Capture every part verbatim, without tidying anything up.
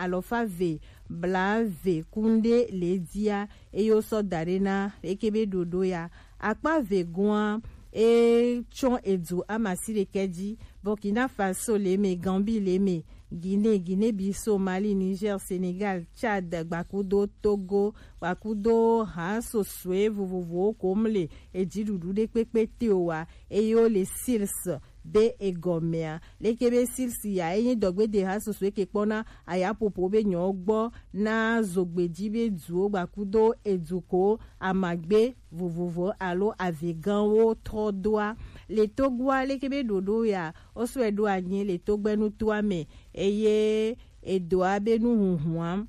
alɔfa ve bla ve kunɖe le dia, eye wosɔ da ɖe na leke be ɖoɖo ya. Akpa ve gɔa, e tsɔ edu amasi ɖekɛ dzi. Burkina Faso le me, Gambie le me, Guinée, Guinée Bissau, Mali, Niger, Sénégal, Tchad, gbakudo Togo, gbakudo ha sosue vovovowo kom le edziɖuɖu ɖe kpekpe te o wa, eye wo le sils be egɔmea. Leke be sils ya, enyi dɔgbede ha sosue ke kpɔna ayapopo be nyɔ gbɔ na zogbeji be duwo gbakudo eduko amagbe vovovo alo aveganwo trɔ doa. Le Togoa, leke be ɖoɖo ya, wo sɔe ɖo anyi le Togbɛnutoa me, eye edoa be nuhunhua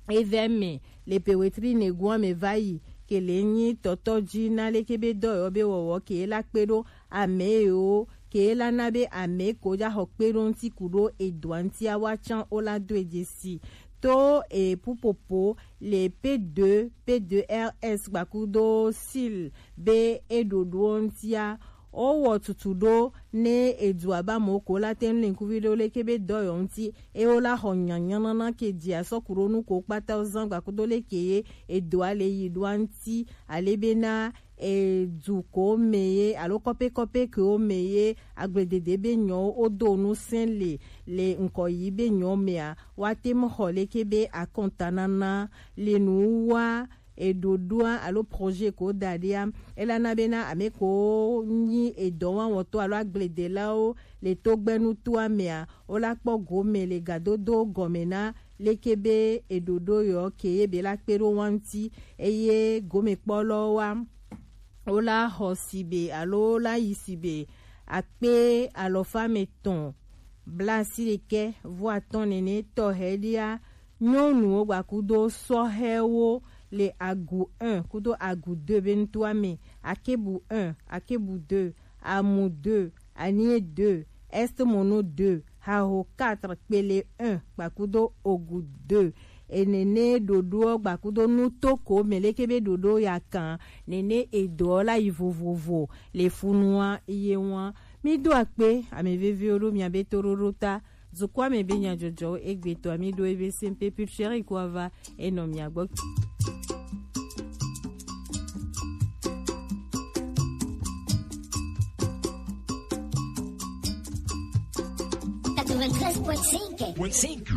evɛ me le pewetri negoa me va yi, ke le nyi tɔtɔ ji na leke be dɔ yɔ be wɔwɔ ke la kpe ɖo ame yiwo ke la na be ame ko ja xɔ kpe ɖo ŋuti ku ɖo edoa ŋutia wa tsã wo la do edze si. To e pupopo le P deux, P deux R S gbakudo sil be e ɖoɖoɔ ŋutia, wowɔ tutu ɖo ne edua ba mo ko la te ŋu le ŋkuvi ɖo leke be dɔ yɔ ŋuti, e wo la xɔ nyanyanana ke dzi asɔ ku ɖo nu ko kpata wo zan gbakudo leke ye edoa le yi ɖoa ŋuti, ale be na edu ko me ye alo kɔpe kɔpe ke wo me ye agbledede be nyɔ wo do nu sɛn le le ŋkɔ yi be nyɔ mea, wa te mu xɔ leke be akɔntanana le nu wa eɖoɖoa alo projet ko da ɖia, ela na bena ame ko nyi edɔwawɔtɔ alo agbledelawo le Togbɛnutoa mea, wo la kpɔ gome le gadodo gɔme na leke be eɖoɖo yɔ ke ye be la kpe ɖo wa ŋuti, eye gomekpɔlɔwo wa wo la xɔ sigbe alo wo la yi sigbe akpe alɔfa me tɔn blasi ɖekɛ vɔ atɔn nene tɔ hɛɖia. Nyɔnuwo gbakudo sɔhɛwo le agu un kudo agu deux be ŋutoa me, akebu un, akebu deux, amu deux, anie deux, est mono deux, haho quatre, kpele un gbakudo ogu deux. Enene ɖoɖoɔ gbakudo nutoko me leke be ɖoɖo ya kan nene edɔ la yi vovovo le funua ye ŋua. Mi do akpe ame veviwo ɖo mia be toɖoɖo ta. Dukɔa me be nyadzɔdzɔwo egbetɔ mi ɖo ebe sempe pulcheri ko ava enɔ mia gbɔ. Quatre-vingt-treize point cinq. Point cinq.